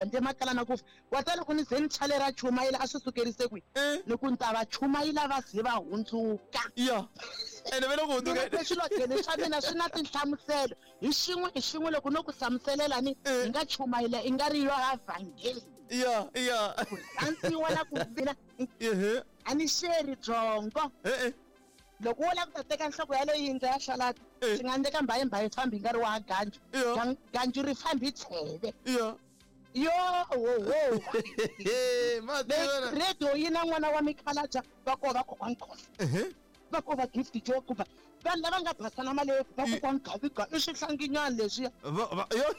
Handle makala na ku fa. Wa ta loko ni ze ni chalera chumayela a swi sukerise kwihi? Eh. Ni ku ni ta va chumayela va ze va hundzuka. Ya. Ene ve le ku Ni hundzukeni. ve swilotlelo swa mina swi na tinhlamuselo. Hi xin'we hi xin'we loko no ku hlamuselela ni Eh. hi nga chumayela i nga ri yo ha vhangeli. Ya, ya. Ku rhandziwa na ku mina Ehe. a ni xeri byongo. Eh eh. Loko wo lava ku ta teka nhloko ya leyi yindlu ya xalata Eh. swi nga endleka mbayimbayi fambi yi nga ri wa ganju. Ya. Ganju ri fambi tsheve. Ya. Yo wo wo. Eh, ma tiva. Radio yi na n'wana wa mikhalaja va ko va kokwani Khosa Ehe. va ko va Gift Joe kumbe vanhu lava nga basana malebvu va kokwani Gaviga i swihlanginyana leswiya Va va yo.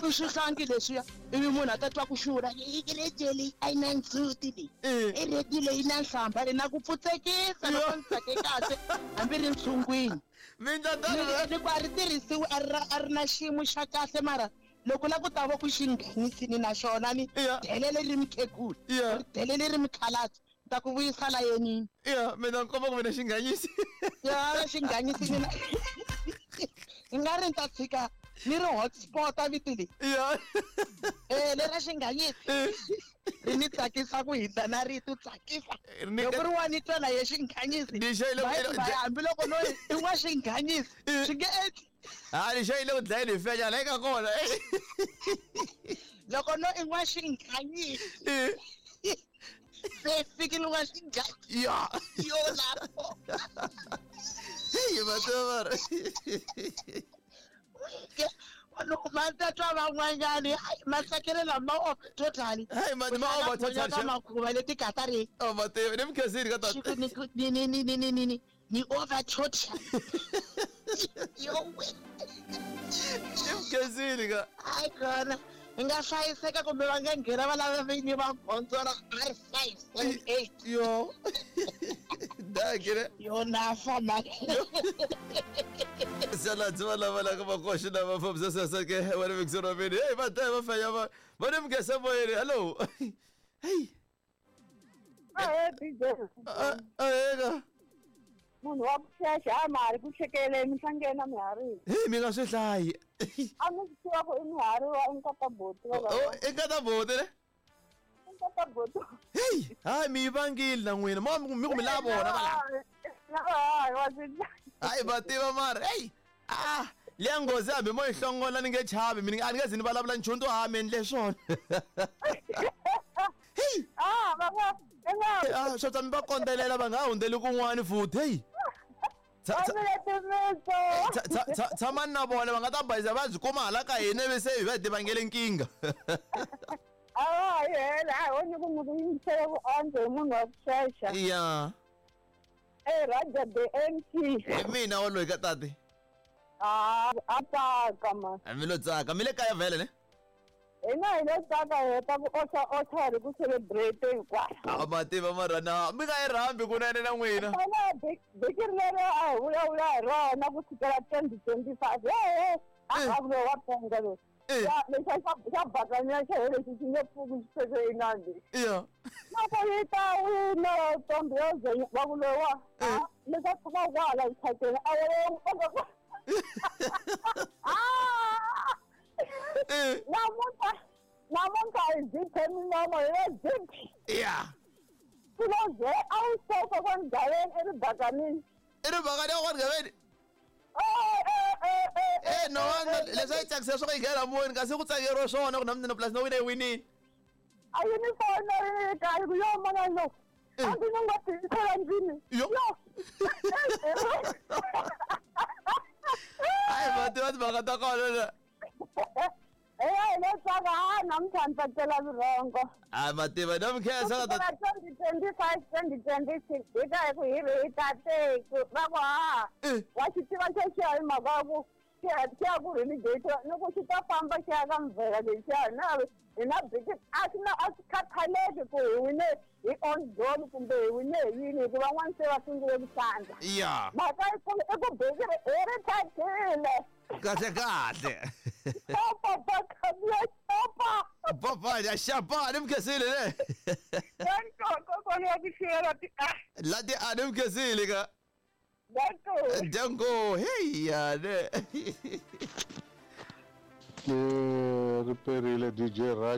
i swihlangi leswiya ivi munhu a ta twa ku xurha i radio leyi a yi na ndzhuti leyi Eh. i radio leyi na nhlamba leyi na ku pfutsekisa loko ni tsake kahle hambi ri ntshungwini Mindla tano. ni ku a ri tirhisiwi a ri a ri na xiyimo xa kahle mara loko la ku ta va ku xi nghenisini na xona ni Yeah. delele ri mukhegula Yeah. ri delele ri mukhalabye ni ta ku vuyisa layenini Ya, mina nkomba ku mina xinganyisi. ya xinghanyisini na i nga ri ni ta tshika ni ri hotspot a vito leyi Ya. e lera xinghanyisi Eh. ri ni tsakisa ku hindza na rito tsakisa Ri ni- loko ri wa ni twa na ye xinghanyisi Ni xayile ku- Bayi- bayi, hambiloko no i wa xinghanyisi Eh. swi nge endli Ha, ni xayile ku dlayeni hi fenya la eka kona. loko no i n'wa xinghanyisi Eh. se fikile wa xinghanyisi Ya. yo lapho Hey, ma tiva mara. loko ma ta twa van'wanyani hayi mahlekelo lama off totally Hey, ma over totally, ka shem. makhuva leti katari Oh, ma tiva. Ni mkhensini ka xi tata. ku ni ku- ni ni ni ni ni ni ni ni over total yo we Ni mkhensini ka. hayi kona hi nga hlayiseka kumbe va nga nghena va lava vinyi va gondzo ra R 578 Yo. Dakile. yo na fa mani Sala tswa lava la ka makoshi lava fambisa sasa ke wena Victor Mini. Hey, va ta va fenya va. Va ni mkhesa moyeni. Hello. Hey. Ahee DJ. A a ka. Munhu wa ku xexa a ma ha ri ku xekeleni mi hlangena miharini. Hey, mi nga swi hlayi. A mi swi tiva ku i mihari wa i nkata boti wa Oh, i nkata boti ne? I nkata boti. Hey, hayi mi yi vangile na n'wina. Mo mi ku mi lava vona va la. Hayi wa swi Hayi va tiva mara. Hey. Ah, liya nghozi hambi mo yi hlongola ni nge chavi mina a ni nge zi ni vulavula nchumu to ha mi endle swona. Hey. Ah, va nga i nga Ah, swo ta mi va kondzelela va nga ha hundzeli kun'wani futhi. Hey. va mile timitso. Tshamani na vona va nga ta bayiza va byi kuma hala ka hina ivi se hi va hi tivangele nkingha. A va ha yi hela a hi woni ku mi ku yingisele ku antswa hi munhu wa ku xexa. Ya. Eh Raja the MC. Hi mina waloyi ka tati. Ah, a tsaka man. Mi lo tsaka mi le kaya vhele ne? Hina hi lo tsaka hi heta ku oxa oxa hi ri ku celebrate hinkwaswo. A ma tiva mara na mi nga yi rhambi kunene na n'wina. Phela vhiki leri a hi vulavula hi rona ku sukela 2025 hehe a Eh. a vulo wa penga loyi Eh. Lexa xa bakanya xa he lexi xi nge pfuki xi feke inandi Ya. loko yi ta wina ntombi yo ze va ku lowa Eh. lexa tshama kwala xithateni a wo Eh. namuntlha namuntlha hi ziphe minomo hi le ziphi Ya. swilo ze a wu sofa kwani eribakanini I ri bakani ya kwani gaveni. Eh no wanga leswi a yi tsakisa swa ku yi nghena moyeni kasi ku tsakeriwa swona ku na mina plus na wina yi winile. a yi ni fona yi kahle ku yo mana lo Eh. a ndzi ni nga tiyisela ndlwini Yo. Hayi va tiva timhaka ta kona na. Eya hi le tsaka ha namuntlha ni tsakela vurhongo Hayi ma tiva na mi khensa ka kusukela tati. 2025 2026 hi ka hi ku hi ri hi tateku va ku ha Eh. wa xi tiva xexiya hi mhaka ya ku xi ya xi ya ku relegate ni ku xi ta famba xi ya ka mvhela lexiya na hi na biki a swi na a swi khathaleki ku hi wine hi on goal kumbe hi wine hi yini hikuva van'wana se va sungule ku sandza Ya. mhaka yikulu i ku biki ri hi ri thathile Kahle kahle. xopa bakabiya xopa Papa ya xapa ni mi khensile ne. kokwana wa ku xivela ti a Lati a ni mi khensile ka. danko Danko hey ya ne. Ke riperile DJ Raj.